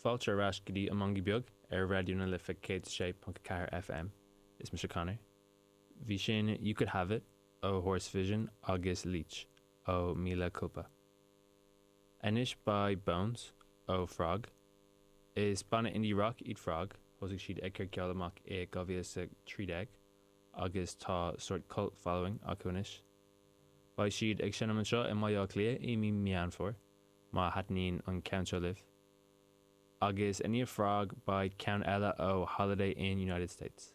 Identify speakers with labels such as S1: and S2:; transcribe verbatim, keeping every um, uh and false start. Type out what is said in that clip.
S1: Fáilte ar ais go dtí an Mangaí Beag ar Raidió na Life céad sé ponc ceathair FM. Is mise Conor. Bhí sin You Could Have It ó Horse Vision agus Leech ó Mila Culpa. Anois beidh Bones ó Frog. Is banna indie rock iad Frog, thosaigh siad ag cur ceol amach i dhá mhíle is a trí déag agus tá sórt cult following acu anois. Beidh siad ag seinm anseo i mBaile Átha Cliath i mí Meán Fómhair, má thaitníonn an ceann seo libh. Agus i ndiaidh Frog beidh ceann eile ó Holiday Inn United States.